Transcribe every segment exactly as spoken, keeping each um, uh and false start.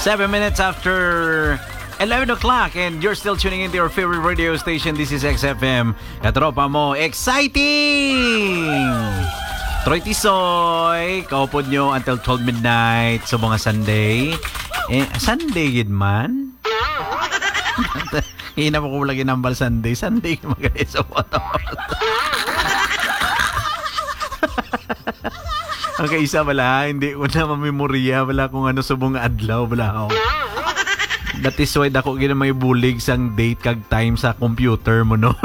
Seven minutes after eleven o'clock, and you're still tuning into your favorite radio station. This is X F M. Katropa mo, exciting! Troy Tisoy, kaupod nyo until twelve midnight sa mga Sunday. Eh, Sunday gid man. Hina mo ko lagi nambal Sunday. Sunday ka magaling sa motor. Ang kaisa bala, hindi ko na mamemorya bala kung ano subong nga adlaw bala, oh. That is why dako gid may bulig sang date kag time sa computer mo, no?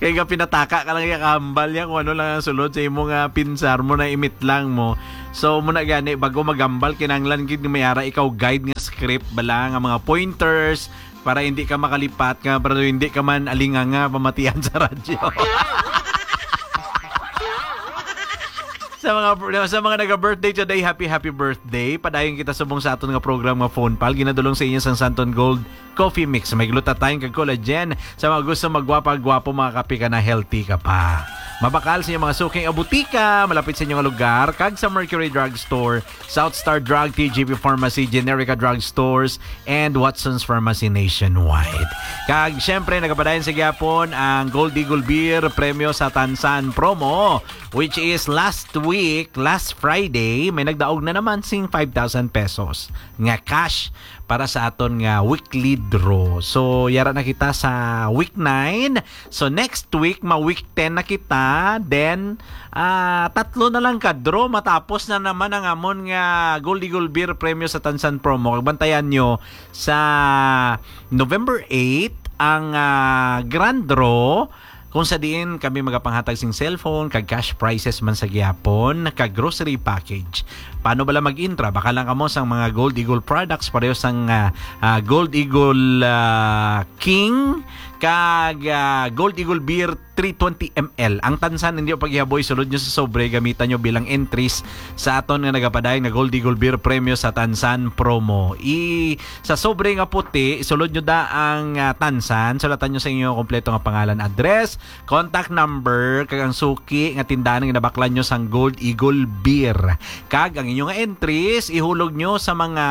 Kay nga pinataka ka lang ya kambal ya kung ano lang ang sulod sa imo nga pinsar mo na imit lang mo. So, mo na gani, bago magambal, kinanglan gid nga may ara ikaw guide nga script bala nga mga pointers para hindi ka makalipat nga, para hindi ka man alinganga pamatian sa radyo. Sa mga sa mga naga-birthday today, happy, happy birthday. Padayon kita subong sa aton nga program nga Phone Pal. Ginadulong sa inyo sang Santon Gold Coffee Mix. May glutathione kag collagen. Sa mga gusto magwapa-gwapo, mga kape ka na, healthy ka pa. Mabakal sa inyong mga suking abutika, malapit sa inyong lugar, kag sa Mercury Drug Store, South Star Drug, T G P Pharmacy, Generica Drug Stores, and Watson's Pharmacy nationwide. Kag, syempre, nagapadayon sa gyapon ang Gold Eagle Beer Premyo sa Tansan Promo, which is last week, last Friday, may nagdaog na naman sing five thousand pesos nga cash para sa aton nga weekly draw. So, yara na kita sa week nine. So, next week, ma-week ten na kita. Then, ah, tatlo na lang ka draw. Matapos na naman ang amon nga Gold Eagle Beer Premyo sa Tansan Promo. Kag bantayan nyo sa November eight ang, ah, grand draw kung sa diin kami magapanghatag sing cellphone, kag cash prizes man sa gihapon, kag grocery package. Paano bala mag-intra? Baka lang kamo sang mga Gold Eagle products, pareho sang, ah, ah, Gold Eagle, ah, King, kag, ah, Gold Eagle Beer three twenty M L. Ang tansan, hindi yung paghihaboy, sulod nyo sa sobre, gamitan nyo bilang entries sa aton nga nagapadayon nga Gold Eagle Beer Premyo sa Tansan Promo. I, sa sobre nga puti, sulod nyo da ang, ah, tansan, sulatan nyo sa inyo kompleto nga pangalan, address, contact number, kag ang suki nga tindahan nga nabaklan nyo sang Gold Eagle Beer. Kag ang inyo nga entries, ihulog nyo sa mga,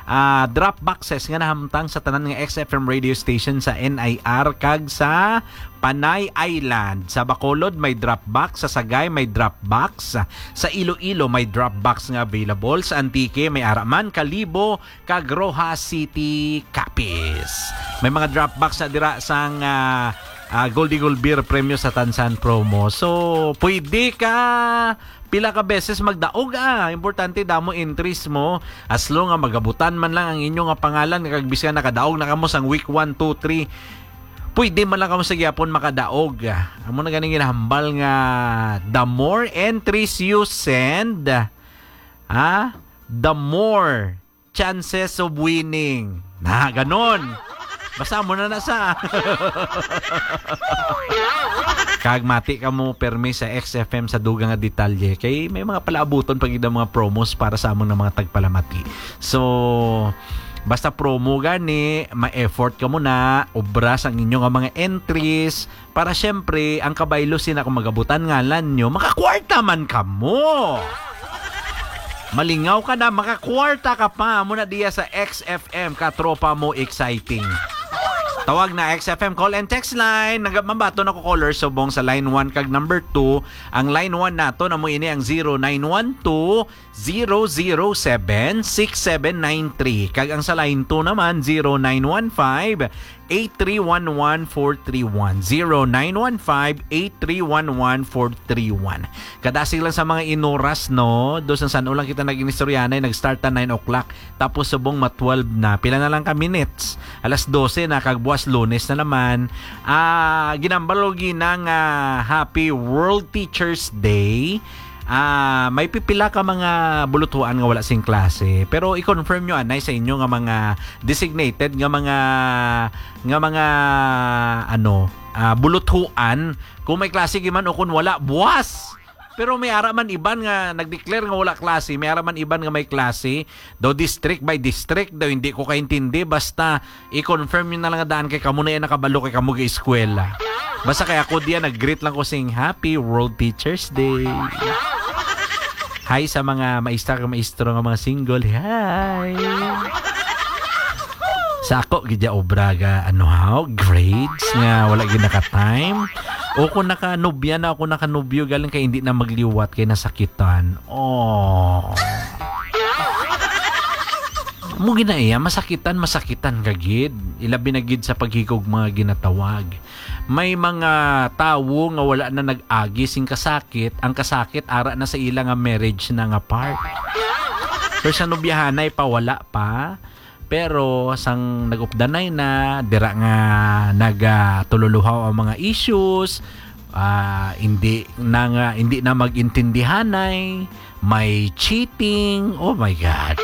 ah, drop boxes nga nahamtang sa tanan nga X F M radio station sa N I R kag sa Panay Island. Sa Bacolod may drop box, sa Sagay may drop box, sa Iloilo may drop box nga available, sa Antique may ara man, Kalibo, kag Roxas City, Capiz. May mga drop box na dira sang, ah, ah, Gold Eagle Beer Premyo sa Tansan Promo. So, pwede ka pila ka beses magdaog, ah. Importante, damo entries mo. As long nga magabutan man lang ang inyo nga pangalan, kag bisan nakadaog na kamo sang week one, two, three, pwede man lang kamo sa gyapon makadaog. Amo na ganing ginahambal nga the more entries you send, ah, the more chances of winning. Na, ganon. Basta mo na na sa. Kag mati ka mo permi sa X F M sa dugang nga detalye. Kay may mga palaabuton pa gid ang mga promos para sa among mga tagpalamati. So, basta promo gani, ma-effort ka mo na, obra sang inyo nga mga entries, para siyempre, ang kabaylo sina kung magabutan ngalan nyo, makakwarta man kamo. Malingaw ka na, makakwarta ka pa. Muna diya sa X F M, katropa mo, exciting. Tawag na X F M call and text line. Nag-, mabaton ako caller subong sa line one kag number two. Ang line one nato na mo ini ang zero nine one two, zero zero seven, six seven nine three. Kag ang sa line two naman, zero nine one five, eight three one one four three one. Zero nine one five, eight three one one four three one. Kadasig lang sa mga inuras, no? Do sa san-o lang kita nag-inistoryanay, nag-start ta nine o'clock. Tapos subong ma twelve na. Pila na lang ka minutes? Alas dose na, kag buwas Lunes na naman. Ah, ginambal ko gina nga Happy World Teachers Day. Ah, may pipila ka mga buluthuan nga wala sing klase. Pero i-confirm nyo anay sa inyo nga mga designated nga mga, nga mga, ano, ah, buluthuan. Kung may klase giman o kung wala, buwas! Pero may ara man iban nga nag-declare nga wala klase, may ara man iban nga may klase. Daw district by district, daw hindi ko kaintindi. Basta i-confirm nyo na lang nga daan kay kamo na yan nakabalo kay kamo ga-eskwela. Basta kay ako diyan, nag-greet lang ko sing Happy World Teachers Day. Hi sa mga maestra kag maestro nga mga single. Hi. Sa ako gid ya obra ga ano ha, grades nga wala gid naka-time. O kung nakanubya na ako, nakanubyo, galing kay hindi na magliwat kay nasakitan. Oh. Mo ginaiya, masakitan, masakitan ka gid. Ilabi na gid sa paghigugma nga ginatawag. May mga tawo nga wala na nag-agi sing kasakit, ang kasakit ara na sa ila nga marriage na nga part. Pero sa nobyahanay pa, wala pa. Pero sang nag-updanay na, dira nga nagatululuhaw ang mga issues, ah, hindi na nga, hindi na mag-intindihanay, may cheating, oh my God.